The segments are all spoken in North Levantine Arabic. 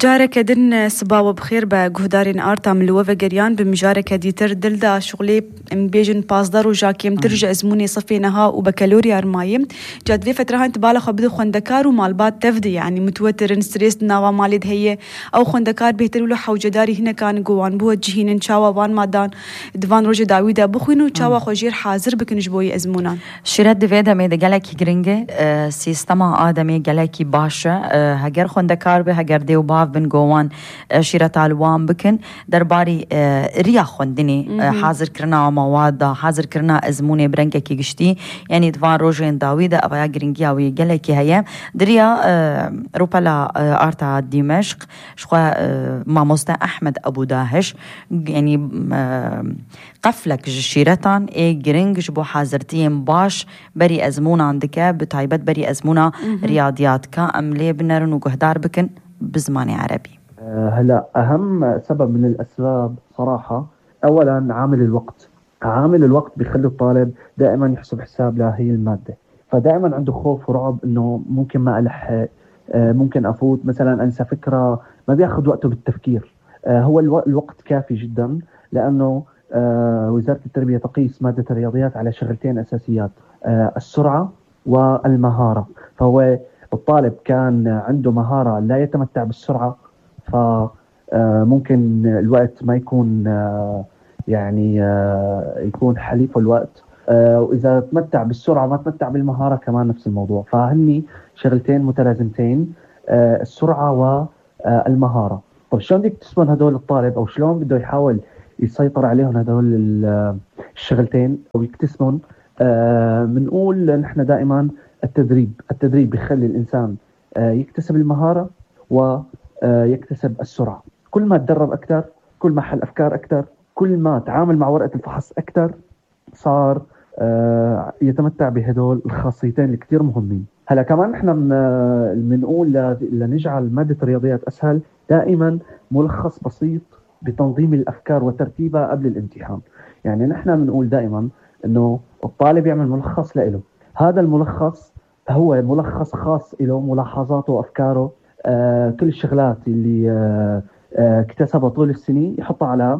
جارك دن سباوة بخير بجهدارين آرتا من لوفا جريان بمجارك ديتر دلدا شغلي بيجن بازدار وجاكيم ترجع زموني صفينها وبكالوريا رمايم جاد في فترة هانت بالا خبدو خندكار ومالبات تفدي يعني متوتر ستريس ناوا مالد هي أو خندكار بيترولو حو جداري هنا كان جوان بوجهين إن شاوا وان مادان دفان روج داويدا بخوينو شاوا خجير حاضر بكن جبوي أزمونان شيرات دفيدا ميدا جالكي جرينجي سيستما آدمي جالكي باشا هجر خندكار به هجر ديو باف بن جوان شيرات الوان بكن درباري ريا خندني حاضر كرنا مواد حاضر كرنا أزموني برنكي كي جشتي يعني دفان روجين داويدا أبايا جرينجيا ويجالكي هيا دريا روبلا آرتا دمشق شخوا ماموستا أحمد أبو داهش يعني قفلك جشيرتان جرينج جبو حاضرتين باش بري أزمونا عندك بتعيبت بري أزمونا رياضيات كأملي بنرن وجهدار بكن بزماني عربي. هلا أهم سبب من الأسباب صراحة أولا عامل الوقت بيخلي الطالب دائما يحسب حساب لهي المادة، فدائما عنده خوف ورعب إنه ممكن ما ألحق، ممكن أفوت مثلا أنسى فكرة، ما بياخد وقته بالتفكير. هو الوقت كافي جدا، لأنه وزارة التربية تقيس مادة الرياضيات على شغلتين أساسيات، السرعة والمهارة. فهو الطالب كان عنده مهارة لا يتمتع بالسرعة، فممكن الوقت ما يكون يعني يكون حليفه الوقت، وإذا تمتع بالسرعة ما تمتع بالمهارة كمان نفس الموضوع. فهني شغلتين متلازمتين، السرعة والمهارة. طب شلون بدك تسمن هدول الطالب، أو شلون بده يحاول يسيطر عليهم هدول الشغلتين أو يكتسبهم؟ بنقول نحن دائما التدريب بيخلي الإنسان يكتسب المهارة ويكتسب السرعة. كل ما تدرب أكثر، كل ما حل أفكار أكثر، كل ما تعامل مع ورقة الفحص أكثر، صار يتمتع بهدول الخاصيتين اللي كتير مهمين. هلا كمان نحن بنقول لنجعل مادة الرياضيات أسهل دائما ملخص بسيط بتنظيم الأفكار وترتيبها قبل الامتحان. يعني نحن بنقول دائما إنه الطالب يعمل ملخص لإله، هذا الملخص هو ملخص خاص له، ملاحظاته وأفكاره، كل الشغلات اللي اكتسبها طول السنين يحطها على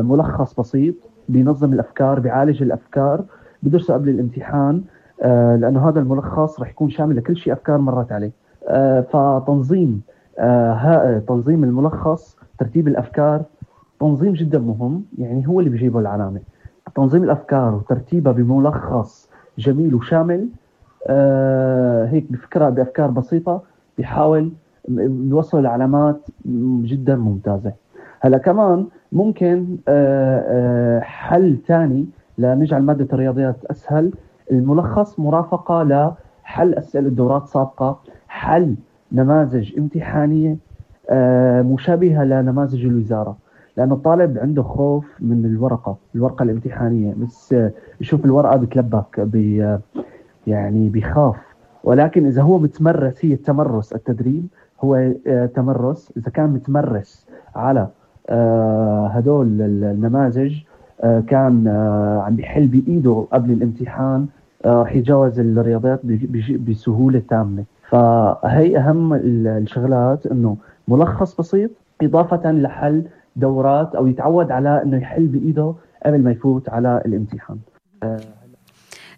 ملخص بسيط بينظم الأفكار، بيعالج الأفكار، بدرسه قبل الامتحان، لأنه هذا الملخص رح يكون شامل لكل شيء أفكار مرت عليه. فتنظيم تنظيم الملخص، ترتيب الأفكار، تنظيم جدا مهم، يعني هو اللي بيجيبه العلامة. تنظيم الأفكار وترتيبها بملخص جميل وشامل، هيك بفكرة بأفكار بسيطة بيحاول يوصل العلامات جدا ممتازة. هلا كمان ممكن حل تاني لنجعل مادة الرياضيات أسهل، الملخص مرافقة لحل أسئلة دورات سابقة، حل نماذج امتحانية مشابهة لنماذج الوزارة، لأن الطالب عنده خوف من الورقة الامتحانية، بس يشوف الورقة بتلبك يعني بيخاف. ولكن إذا هو متمرس، هي التمرس، التدريب هو تمرس، إذا كان متمرس على هدول النماذج، كان عم بيحل بإيده قبل الامتحان، رح يتجاوز الرياضيات بسهولة تامة. فهي أهم الشغلات، إنه ملخص بسيط إضافة لحل دورات، أو يتعود على إنه يحل بإيده قبل ما يفوت على الامتحان.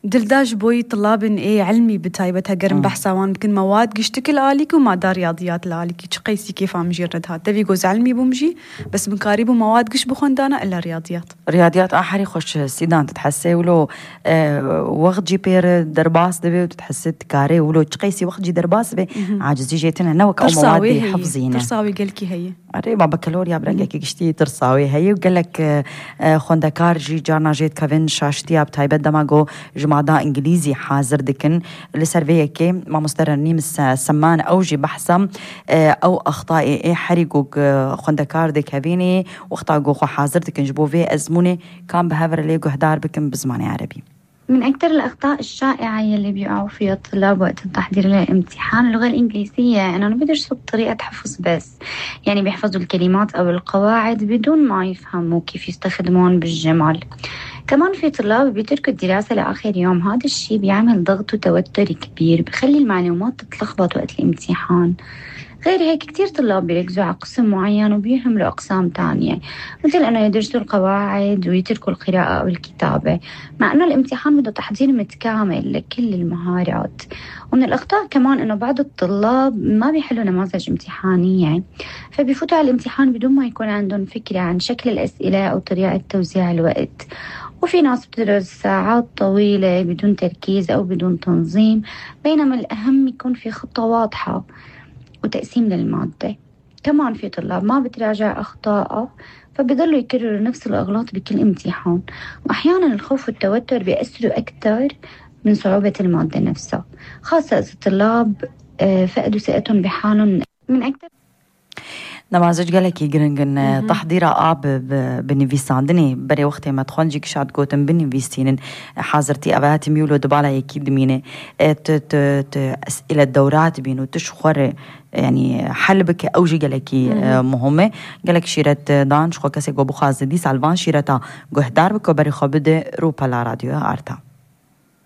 دلداج بوي طلاب علمي بتايبتها قرن بحثا وان بكن مواد قشتكل آليك وما دار رياضيات لآليك تشقيسي كيف عم جيرد هاد تبي جوز علمي بمجي بس من قاربه مواد قش بخندانا إلا رياضيات آخري خوش سيدان تتحسي ولو وقت جي بير درباس دبي وتتحسي تكاري ولو تشقيسي وقت جي درباس بي عاجزي جيتنا نوك أو مواد حفظينه ترصاوي قالكي هي أريبا بكالوريا برنجك قشتي ترصاوي هي وقالك خندكار جي جارنا جيت كافين شاشتيا بتايبت دماغو جماعة إنجليزي حاضر دكن لسرفيكي ما مسترني مس سمان أو جي بحثم أو أخطاء حريقو خندكار دكابيني واخطاء خو حاضر دكن جبو في أزموني كان بهافر ليجو هدار بكن بزماني عربي. من أكثر الأخطاء الشائعة يلي بيقعوا فيها الطلاب وقت التحضير للامتحان اللغة الإنجليزية، أنه بيدرسوا بطريقة حفظ بس، يعني بيحفظوا الكلمات أو القواعد بدون ما يفهموا كيف يستخدمون بالجمل. كمان في طلاب بيتركوا الدراسة لآخر يوم، هذا الشيء بيعمل ضغط وتوتر كبير، بخلي المعلومات تتلخبط وقت الامتحان. غير هيك كتير طلاب بيركزوا على قسم معين وبيهملوا أقسام تانية، مثل أنه يدرسوا القواعد ويتركوا القراءة أو الكتابة، مع أنه الامتحان بده تحضير متكامل لكل المهارات. ومن الأخطاء كمان أنه بعض الطلاب ما بيحلوا نماذج امتحانية، فبيفوتوا على الامتحان بدون ما يكون عندهم فكرة عن شكل الأسئلة أو طريقة توزيع الوقت. وفي ناس بتدرس ساعات طويلة بدون تركيز أو بدون تنظيم، بينما الأهم يكون في خطة واضحة وتقسيم للمادة. كمان في طلاب ما بتراجع أخطاءه، فبيضلوا يكرروا نفس الأغلاط بكل امتحان، وأحيانا الخوف والتوتر بيأثروا أكثر من صعوبة المادة نفسها، خاصة إذا الطلاب فقدوا ثقتهم بحالهم من أكثر. نمازج گلکی گرنگن تحضيرا آب بنویساندنی برای وقتی ما تخون جیک شاد گوتن بنویسینن حاضرتي أبات ميولو دبالا يكيد مينه أسئلة دورات بينو تشخور يعني حلبك أوجي گلکی مهمه گلک شیرت دانش خو کسی گو بخواز دی سالوان شیرتا گهدار بکو بری خواب ده رو پلا رادیو آرتا.